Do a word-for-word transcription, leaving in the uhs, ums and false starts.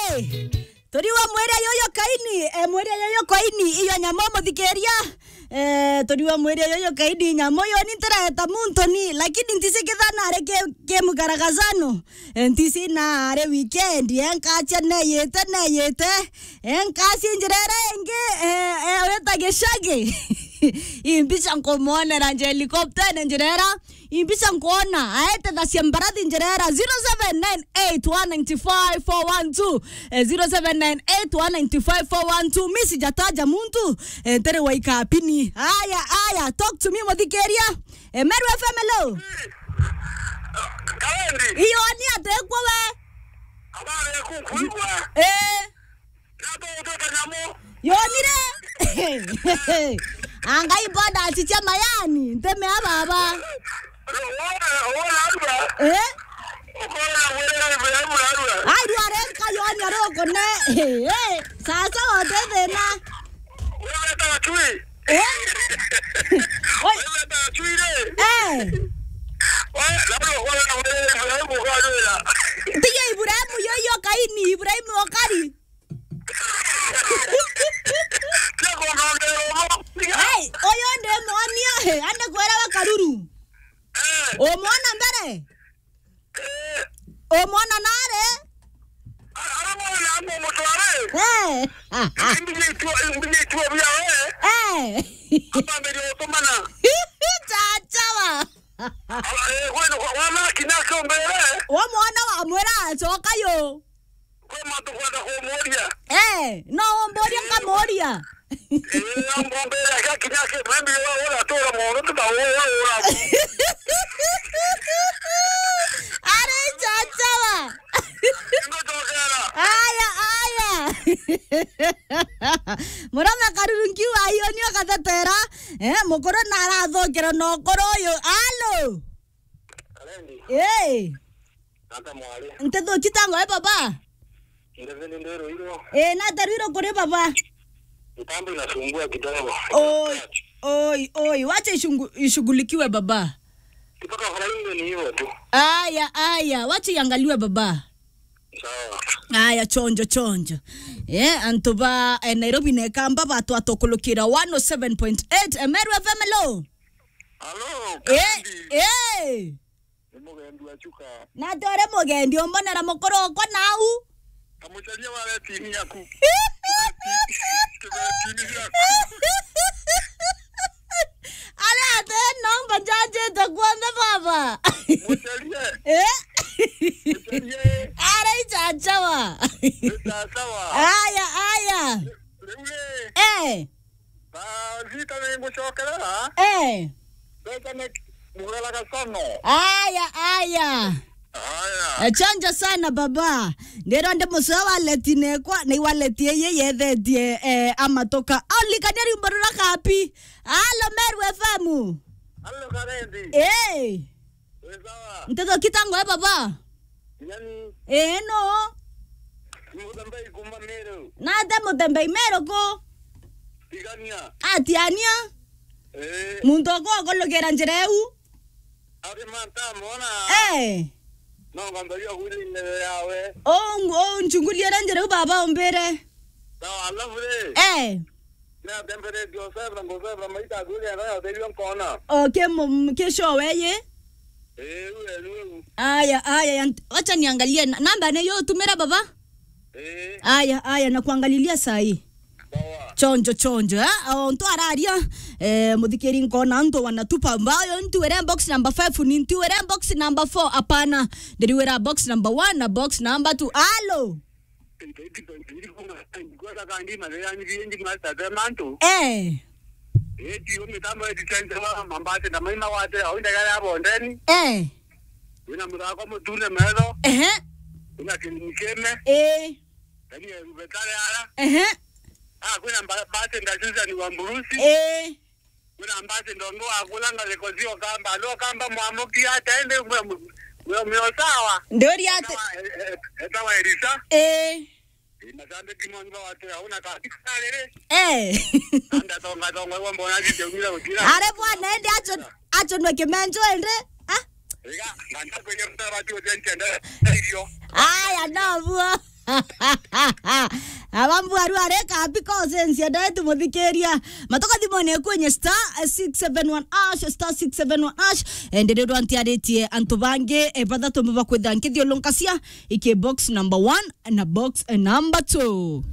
Hey, turiwa mwiria yuyu Kaini, eh, mwiria yuyu Kaini, iyo nyamu muthikiria. Eh, turiwa mwiria yuyu Kaini, nyamu yo ni ntireta muntu ni, lakini ntisi kithana ari ki, ki mugaragazano. Eh, ntisi na ari weekend, eh, nkacia neyite, neyite. Eh, nkacia njira iria ingi, eh, eh, wita gicagi. Imbica nkumwonera nje helicopter-ine njira iria. Imbica nkwona, aete thacia mbarathi njira iria. Zero seven nine eight one nine five four one two. Eh, zero seven nine eight one nine five four one two. Mi sijataja muntu, eh, ntere wa ikapini. Aya, aya, talk to me, muthikiria. Eh, Meru F M, hello. Kawendi. Iyo ni atekwo we. Habari ya kuku igwa. Eh. Yonire. Angai boda achichia mayani, nteme ya baba. Eh? Ai, rware nkayonia rukune. Eh, eh. Sasa wote thina. Eh? Oi. Eh. Tiga Ibrahimu yo, yo Kaini, Ibrahimu okari. Ai, uyu ndimwonia, he, ande kwira wa karuru. Umwona mbere? Umwona nare? Eh. Eh. Chachawa. Wamwona wamwira acoka yo. Kwi mantu nkwenda kumuria. Eh, no umburie nkamuria. Eh, ambumbire akinya ki, maybe uratura mono, tuta ura. Ari chachawa. Ngutokera. Aya, aya. Murome karuru nkiuga iyo nio gathetera. Eh, mukuru narathokera na ukuru uyu. Alo. Kalendi. Eh. Nata mwari. Ntethuki tango e baba. Ndeveni ndirwirwo. Eh, nata rwirwo kuri baba. Mitambo inasumbua kidogo. Oi, oi, oi, wacha ishungu-, ishughulikiwe baba. Kutoka Friday ni hivyo tu. Aya, aya, wacha iangaliwe baba. Sawa. Aya, chonjo, chonjo. Eh, antu ba, eh, Nairobi na Ekamba batwatukulukira one oh seven point eight, eh, Meru F M, hello. Hello, eh, Kalendi. Eh. Ni mugendi wa Chuka. Na tore mugendi umbonera mukuru okwa nau. Kamucaria wa retini yaku. Retini yaku. Ari ati nomba njanjite kuonthe baba. Mucarie. Eh? Mucarie. Ari chachawa. Ni chachawa. Aya, aya. Riu ri. Eh. Ba, Zita ni ngucokerera. Eh. Mbeca ni mugera gacono. Aya, aya. Aya. Eh, chonjo sana baba. Ndirwa ndi mucua waleti nekwa, na iwaleti iyi yethetie, eh, amatuka. Olikania rwimbo rura kapi. Alo, Meru F M. Alo, Kalendi. Eh. Wi sawa? Ntethuki tango e baba. Nyani. Eh, no. Muthembei kuma Meru. Nate Muthembei Meru ku? Tigania. Atiania. Eh. Muntu okwa okolokera njira eu. Ari manta mona. Eh. No ngambaria kwiri ndebe yawe. O, o, nchunguliere njira eu baba umbire. Sawa, alafu ri. Eh. Natemberetie Joseph na Joseph na maita akwiri anga ya uterio nkona. Okay, mu-, mu-, kesho weye. Eh, uwe ni wewe. Aya, aya, ya nt-, wacha niangalie na-, namba ni yo utumira baba. Eh. Aya, aya, na kuangalilia saa hii. Sawa. Chonjo, chonjo, eh? O, ntu araria, eh, muthikiri nkona ntu wanatupa mbayo, ntu were box number five, ni ntu were box number four, hapana. Ndiriwira box number one na box number two. Alo. Kwenda kandi mathira ni biendi master pe mantu. Eh. Eh, ti yo mitambo ya defense wa mambati na maima wate, au ndagara ya bondeni. Eh. Wina muthako mutune metho. Ehe. Wina kirimikeme. Eh. Kani ya rubetare ara. Ehe. Ah, kwina mba-, bati nda Susan wa Mburusi. Eh. Kwina mbasi ndongo wa kula ngariko cio Kamba, ndo Kamba mwamukia ata ende mwe, mwe, mwe sawa. Ndori ata? Etawa, e-, e-, etawa Elisa. Eh. Ii, mashabiki moni bawatira una kabisa riri. Eh. Anda tonga tonga, wa mbona zite umira utira. Are bwana, ende acho, acho no kimenjo ende. Ah? Riga, nganda kwenye mtara tu ende ende. Irio. Aya, no buo. Abambu aru areka because nsia ndae tumuthikiria. Matoka thimone kwenye star six seven one hash, star six seven one hash. Endelee rwantiaritie antu bangi, e, bathatu bakwitha nkithiulunkasia iki box number one na box number two.